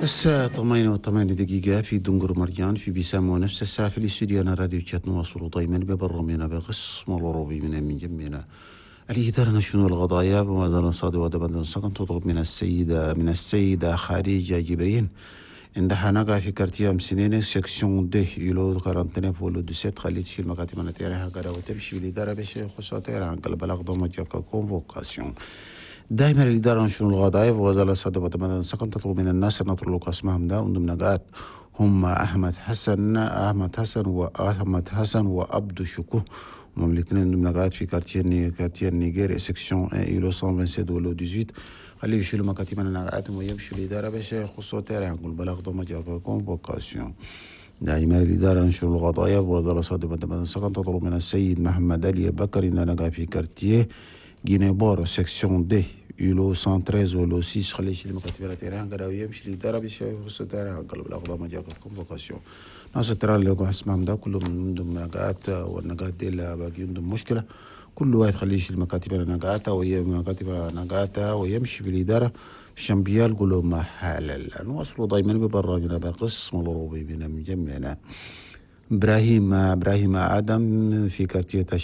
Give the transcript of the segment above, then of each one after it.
الساعة 8:08 في دنقر مرجان في بيسام، ونفس الساعة في الاستوديو أنا راديو تشات. نواصل دائما ببرنامجنا بقسم العربي من جمينا الإدارة نشنو القضايا بمدار صادي ودبن سكن تطلب من السيدة خديجة جبرين عندها نقا في quartier سنين section deux îlot 49 ولا 17. خلي تشيل مكاتب نتيرها قرا وتمشي بالإدارة باش يخصها تيرها البلاغ ضم convocation. دائما الإدارة نشنو القضايا وزارة الصادة ودبن سكن تطلب من الناس أن نطلق اسمهم ده وضمن نقاط هم أحمد حسن، أحمد حسن وأحمد حسن وأبدو شكو. هم الاثنين ضمن نقاط في quartier نيجير section 1 îlot 127 ولا 18. خليه يشيلوا مكاتب نقاطهم ويمشوا الإدارة باش يخصوا تيران نقول بلاغ ضم convocation. دائما الإدارة نشر القضايا وزارة صادقة سكن تطلب من السيد محمد علي بكر إن نقا في quartier Guinée-Bord section deux îlot 113 ولا 6. خليه يشيل مكاتب terrain قراو يمشي الإدارة باش يخصوا terrain قلب الأقدام ما convocation. ناس ال terrain اللي يقع اسمهم ده كلهم عندهم نقاط، والنقاط دي اللي باقي عندهم مشكلة. كل واحد خليه يشيل مكاتب نقاطه وهي مكاتب نقاطه ويمشي في الإدارة الشامبيال قولوا ما حلال. نواصلوا دائما ببرنامجنا بقسم الأوروبي من مجمعنا. ابراهيم ادم في quartier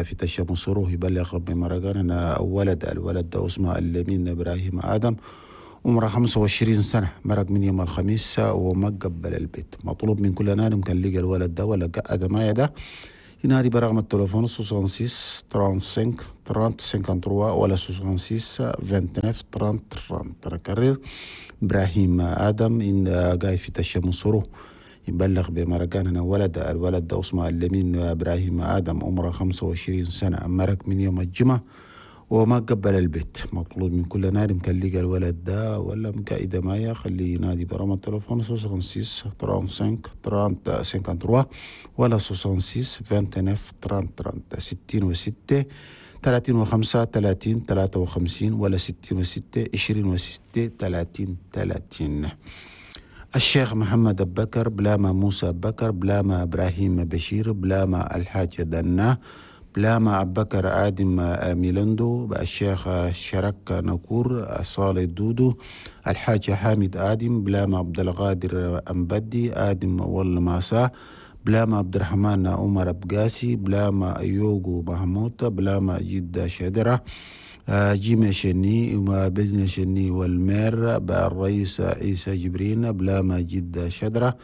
في تشا يبلغ بمرقان ولد، الولد ده اسمه اللمين ابراهيم ادم، عمره 25 سنة، مرق من يوم الخميس وما قبل البيت. مطلوب من كل نار كان لقى الولد ده ولا قعد ما ده ينادي برقم التليفون 66 35 30 53 ولا 66 29 30 30. نكرر، ابراهيم ادم إن قاعد في تشمسورو يبلغ بمرقان هنا ولد، الولد ده اسمه اللمين ابراهيم ادم، عمره 25 سنة، مرق من يوم الجمعة وما قبل البيت. مطلوب من كل نادم كان لقى الولد ده ولا مقايدة مايا خليه ينادي برقم التليفون 66 35 30 53 ولا 66 29 30 30، 66 35 30 53 ولا 66 26 30 30. الشيخ محمد بكر، بلاما موسى بكر، بلاما إبراهيم بشير، بلاما الحاج دنا، بلاما أبكر آدم ميلندو، الشيخ شرك نكور، صالح دودو، الحاج حامد آدم، بلاما عبد القادر أمبدي آدم والماسا، بلاما عبد الرحمن عمر أبقاسي، بلاما يوغو محمود، بلاما جدة شدرة، جيمي شني وبزن شني والمير الرئيس عيسى جبرين، بلاما جدة شدرة،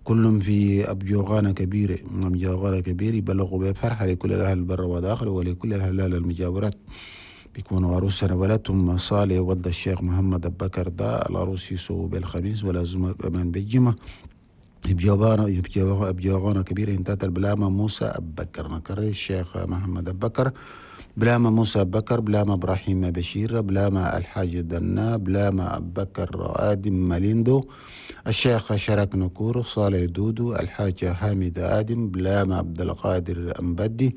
كلهم في أبجوغانا كبيرة، أبجوغانا كبير. يبلغوا بفرحة لكل الأهل البر وداخل ولكل الأهل المجاورات، بيكونوا عروسنا ولدهم صالح ولد الشيخ محمد بكر ده العروس يسووا بالخميس ولازم كمان بالجمعة بجوغانا كبيرة انتهت. البلامة موسى أبكر. نكرر، الشيخ محمد بكر، بلاما موسى بكر، بلاما إبراهيم بشير، بلاما الحاج دنا، بلاما بكر آدم ماليندو، الشيخ شرك نكور، صالح دودو، الحاج حامد آدم، بلاما عبد القادر أمبدي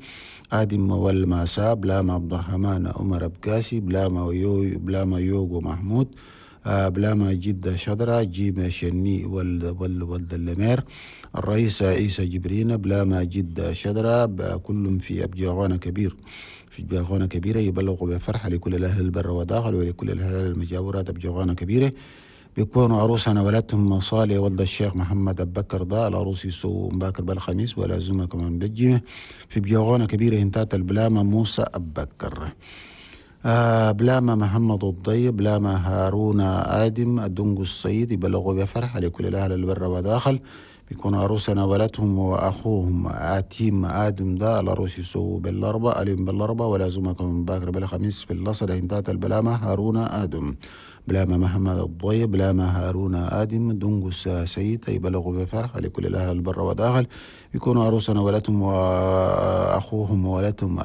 آدم والماسا، بلاما عبد الرحمن عمر أبقاسي، بلاما يو بلاما يوغو محمود، بلاما جدة شدرة، جيم شني ولد اللمير الرئيس عيسى جبرين، بلاما جدة شدرة، كلهم في أبجاغانا كبير، في أبجاغانا كبيرة. يبلغوا بفرحة لكل الأهل البر وداخل ولكل الأهل المجاورات أبجاغانا كبيرة، بيكونوا عروسنا ولدتهم صالح ولد الشيخ محمد أبكر ده العروس يسو مباكر بالخميس ولازمة كمان بجمة في بجوغانا كبيرة انتات. البلامة موسى أبكر، بلاما محمد الضي، بلاما هارون آدم الدنق السيد. يبلغوا بفرحة لكل الأهل البر وداخل، بيكون عروسنا ولدهم وأخوهم آتيم آدم ده العروس يسو بالأربعة اليوم بالأربعة ولازمة كمان باكر بالخميس في اللصر انتات. البلامة هارون آدم، بلاما محمد الضي، بلاما هارون آدم دنقس سيد. يبلغوا بفرحة لكل الأهل البر وداخل، يكونوا عروسنا ولدهم وأخوهم ولدهم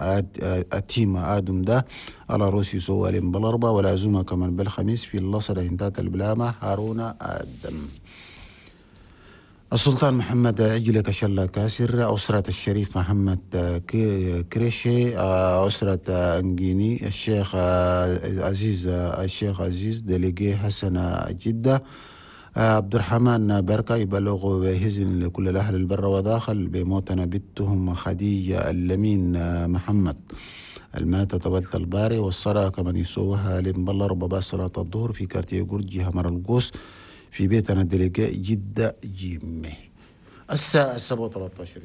أتيم آدم ده العروس يسوى بالأربعة ولازمة كمان بالخميس في اللصر انتات. البلامة هارون آدم. السلطان محمد عجل كشلا كاسر، أسرة الشريف محمد كريشي، أسرة أنجيني، الشيخ عزيز، الشيخ عزيز délégué حسن جدة، عبد الرحمن بركة. يبلغ بهزن لكل الأهل البر وداخل بموتنا بنتهم خديجة اللمين محمد المات طولت الباري، والصلاة كمن يسوها لمبلا ربما صلاة الظهر في quartier جورجي همر القوس. في بيتنا délégué جدة جيمي. الساعة 7:13.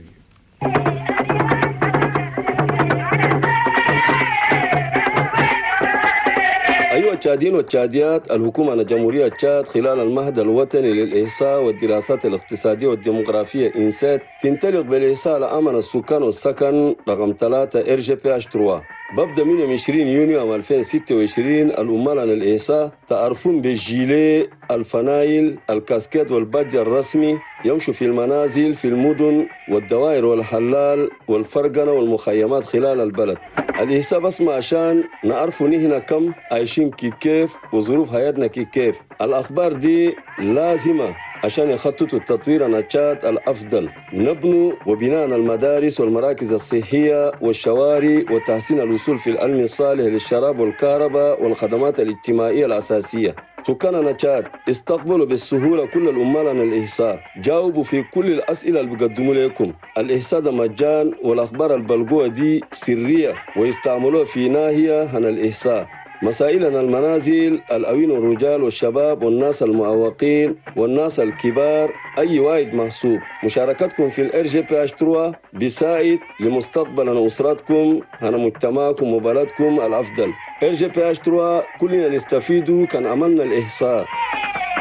أيها التشاديين والتشاديات، الحكومة عن جمهورية تشاد خلال المعهد الوطني للإحصاء والدراسات الاقتصادية والديموغرافية INSET تنطلق بالإحصاء لأمن السكان والسكن رقم 3 RGPH 3. ببدأ من 20 يونيو عام 2026. العمال عن الإحصاء تعرفون بالجيلي، الفنايل، الكاسكيت والبادج الرسمي، يمشوا في المنازل في المدن والدوائر والحلال والفرقنة والمخيمات خلال البلد. الإحصاء بس ما عشان نعرفوا نحن كم عايشين كيف وظروف حياتنا كيف. الأخبار دي لازمة عشان يخططوا التطوير عن تشاد الأفضل، نبنوا وبناء المدارس والمراكز الصحية والشوارع وتحسين الوصول في العلم الصالح للشراب والكهرباء والخدمات الاجتماعية الأساسية. سكاننا تشاد استقبلوا بالسهولة كل العمال عن الإحصاء، جاوبوا في كل الأسئلة اللي بيقدموا لكم. الإحصاء ده مجان والأخبار البلقوة دي سرية ويستعملوها في ناحية عن الإحصاء. مسائلنا المنازل، الأوين والرجال والشباب والناس المعوقين والناس الكبار، أي واحد محسوب. مشاركتكم في ال RGPH 3 بيساعد لمستقبل أسرتكم، هنا مجتمعكم وبلدكم الأفضل. RGPH 3 كلنا نستفيد كان عملنا الإحصاء.